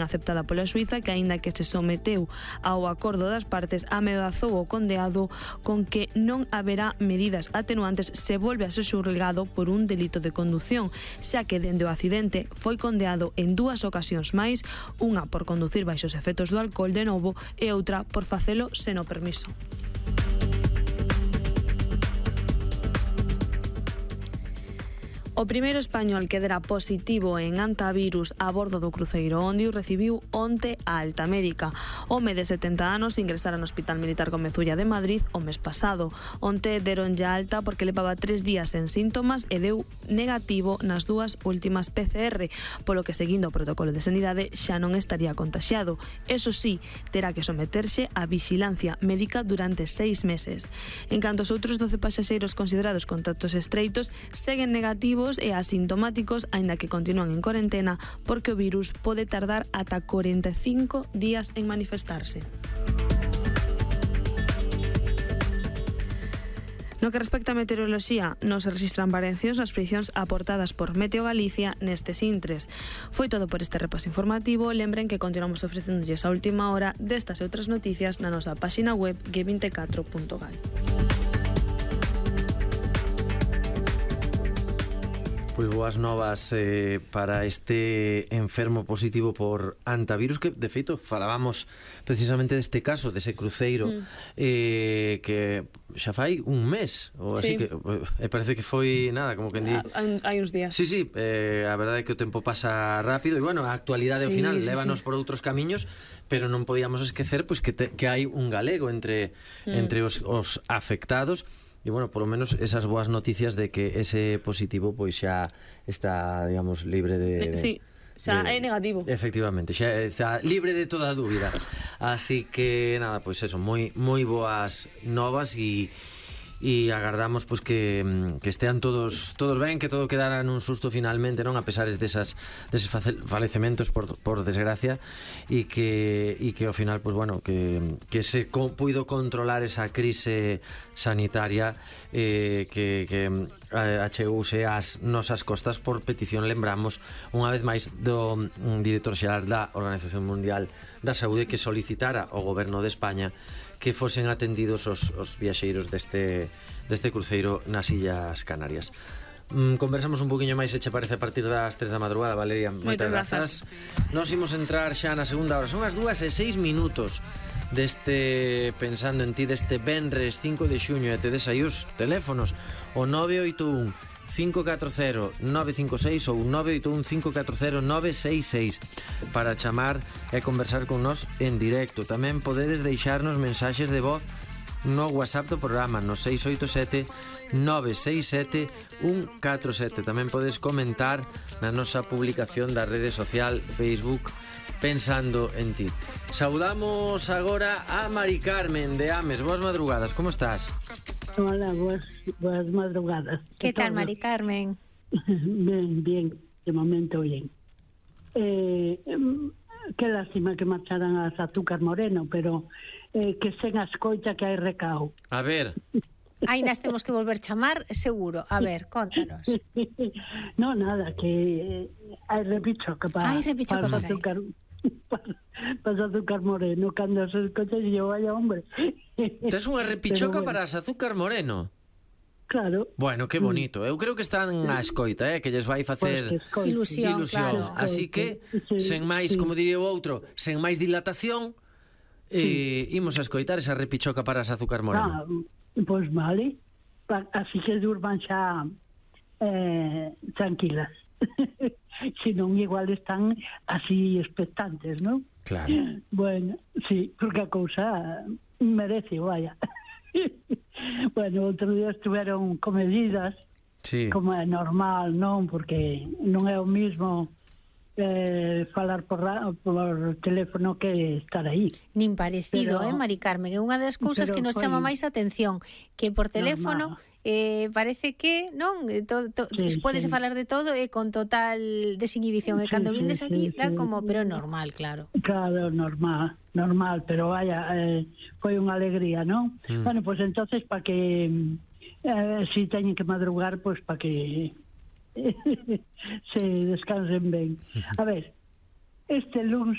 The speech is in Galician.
aceptada pola Suíza, que aínda que se someteu ao acordo das partes, ameazou o condeado con que non haberá medidas atenuantes se volve a ser xulgado por un delito de condución, xa que dende o accidente foi condeado en 2 ocasións máis, unha por conducir baixo os efectos do alcohol de novo e outra por facelo sen o permiso. O primeiro español que dera positivo en antivirus a bordo do cruceiro Ondius recibiu onte a alta médica. O home de 70 anos ingresara no Hospital Militar Gomezulla de Madrid o mes pasado. Onte deron ya alta porque levaba 3 días en síntomas e deu negativo nas 2 últimas PCR, polo que seguindo o protocolo de sanidade xa non estaría contaxiado. Eso sí, terá que someterse a vixilancia médica durante 6 meses. En canto os outros 12 pasaxeiros considerados contactos estreitos seguen negativos e asintomáticos, aínda que continúan en cuarentena porque o virus pode tardar ata 45 días en manifestarse. No que respecta a meteoroloxía, non se registran variacións nas predicións aportadas por Meteo Galicia nestes intres. Foi todo por este repaso informativo. Lembren que continuamos ofrecéndolles a última hora destas e outras noticias na nosa páxina web g24.gal. Pois boas novas para este enfermo positivo por antivirus, que de feito falábamos precisamente deste caso, dese cruceiro que xa fai un mes ou así, que parece que foi nada, como que di hai uns días. Sí, a verdade é que o tempo pasa rápido e bueno, a actualidade ao final lévanos por outros camiños, pero non podíamos esquecer pois que hai un galego entre os afectados. E, bueno, por lo menos esas boas noticias de que ese positivo pois xa está, digamos, libre de... Sí, xa é negativo. Efectivamente, xa está libre de toda dúbida. Así que, nada, pois eso, moi boas novas e agardamos pois que estean todos ben, que todo quedara nun susto finalmente, non, a pesar deses falecementos por desgracia, e que ao final pois bueno, que se puido controlar esa crise sanitaria que achegouse ás nosas costas por petición, lembramos unha vez máis, do director xeral da Organización Mundial da Saúde, que solicitara ao goberno de España que fosen atendidos os viaxeiros deste cruceiro nas Illas Canarias. Conversamos un poquinho máis, se che parece, a partir das 3 da madrugada, Valeria. Moitas grazas. Nos imos entrar xa na segunda hora. Son as 2:06 deste Pensando en Ti, deste venres 5 de xuño, e te des aí os teléfonos, o 981 540 956 ou 981 540 966 para chamar e conversar con nós en directo. Tamén podedes deixarnos mensaxes de voz no WhatsApp do programa, no 687 967 147. Tamén podes comentar na nosa publicación da rede social Facebook Pensando en Ti. Saudamos agora a Mari Carmen de Ames. Boas madrugadas, como estás? Hola, buenas madrugadas. ¿Qué tal, Mari Carmen? Bien, de momento bien. Qué lástima que marcharan as Azúcar Moreno, pero que sen as coita que hai recao. A ver... Ainda temos que volver chamar, seguro. A ver, contanos. No, nada, que hai repichoca para Azúcar... Para Azúcar Moreno, cando se escocha e yo, vaya hombre. Tes unha repichoca para as Azúcar Moreno? Claro. Bueno, que bonito. Eu creo que están á escoita, que lles vai facer ilusión. Claro. Así que, sen máis, como diría o outro, sen máis dilatación, imos a escoitar esa repichoca para as Azúcar Moreno. Pois vale. Así que durman xa tranquilas. Si non, igual están así expectantes, ¿no? Claro. Bueno, sí, porque a cousa merece, vaya. Bueno, outro día estuveron con medidas, sí, como é normal, non? Porque non é o mismo falar por teléfono que estar aí. Nin parecido, Mari Carmen. É unha das cousas que nos chama máis a atención, que por teléfono parece que non podese falar de todo e con total desinhibición, e cando vindes aquí dá como, pero normal, claro. Claro, normal, pero vaya, foi unha alegría, non? Bueno, pues entonces para que si teñen que madrugar, pues para que se descansen ben. A ver, este luns